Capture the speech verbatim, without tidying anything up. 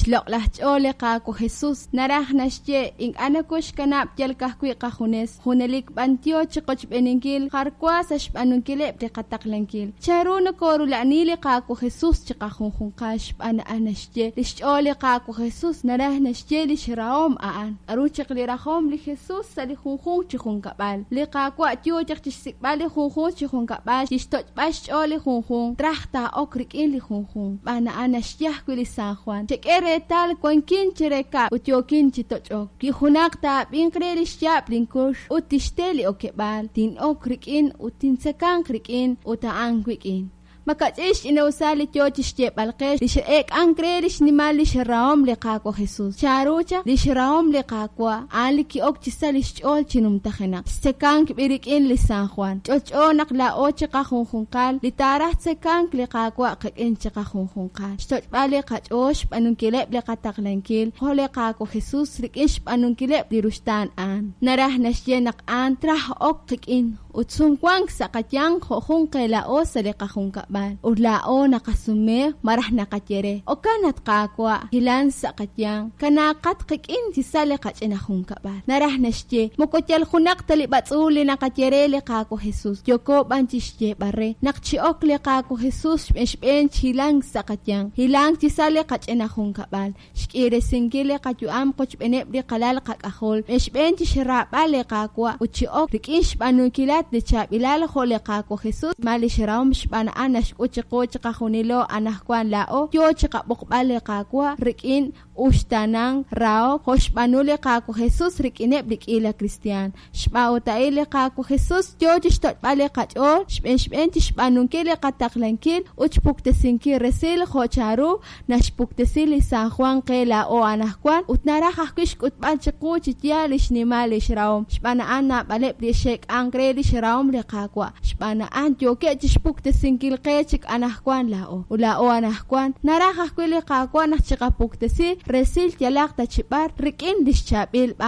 Xloq'laj ch'ool li Qaawa' Jesus, naraj naxye ink'a' nokoxkanab' yal ka'ajwi' qajunes, junelik b'an yo chiqochb'eeninkil jar wa sa' xb'aanunkileb' li qataqlankil. Chanru nokorula'ani li Qaawa' Jesus chiqajunjunqal? Xb'aan a'an naxye li xch'ool li Qaawa' Jesus, naraj naxye li xrahom a'an. K'aru chaq li rajom li Jesus sa' li junjunq chi junkab'al? Li Qaawa' yo chaq chixsik'b'al li junjunq chi junkab'al, chixtoch'b'al xch'ool li junjunq, traj taa'ok rik'in li junjunq. Xb'aan a'an naxye ajwi' li San Juan: Chek'e reetal wankin chire kab'l ut yookin chi toch'ok. Wi junaq taa'ab'inq re li xyaab' linkux ut tixte li okeb'aal, tin'ok rik'in ut tintzekanq rik'in ut a'an wik'in. Makach'in xch'ina'usal li yo chi xyeeb'al qe li x'eek'ank re li xnimal li xrahom li Qaawa' Jesus. Chanru chaq li xrahom li Qaawa' a'an li ki'ok chi sa li xch'ool chi numtajenaq. Xtzekank b'i rik'in li San Juan. Ch'olch'o naq laa'o chiqajunjunqal li taaraj tzekank li Qaawa' qik'in chiqajunjunqal. Xtoch'b'al li qach'ool xb'aanunkileb' li qataqlankil jo' li Qaawa' Jesus rik'in xb'aanunkileb' li ruxtaan a'an. Naraj naxye naq a'an traj ok qik'in ut sumwank sa' qayanq jo' jun qe laa'o sa' li qajunkab'al. Ut laa'o naqasume malaj naqaye re: Okan at Qaawa', hilan sa' qayanq, kanaaqat qik'in chi sa' li qach'ina junkab'al. Naraj naxye moko yal junaq ta li b'atz'uul li naqaye re li Qaawa' Jesus, yooko b'an chi xyeeb'al re naq chi'ok li Qaawa' Jesus xb'een xb'een chihilank sa' qayanq, hilank chi sa' li qach'ina junkab'al, xk'iresinkil li qayu'am qochb'eeneb' li qalal qak'ajol, xb'een xb'een chi xraab'al li Qaawa' ut chi'ok rik'in xb'aanunkilat li chaab'ilal jo' li Qaawa' Jesus ma li xrahom xb'aan a'an naxk'ut chiqu chiqajunilo anaqwan laa'o yo chiqab'oqb'al li Qaawa' rik'in uxtaanank rahok jo' xb'aanu li Qaawa' Jesus rik'ineb' li k'iila kristiaan. Xb'aan ut a'in li Qaawa' Jesus yo chixtoch'b'al li qach'ool xb'een xb'een chixb'aanunkil li qataqlankil ut xpuktesinkil resil jo' chanru naxpuktesi li San Juan qe laa'o anaqwan ut naraj ajwi' xk'utb'al chiqu chi yaal li xnimal li xrahom. Xb'aan a'an naab'aleb' li xe'k'ank re li xrahom li Qaawa'. Xb'aan a'an yookeb' chixpuktesinkil qe chik anaqwan laa'o. Ut laa'o anaqwan naraj ajwi' li Qaawa' naq chiqapuktesi resil yalaq ta chi b'ar rik'in li xchaab'il b'aan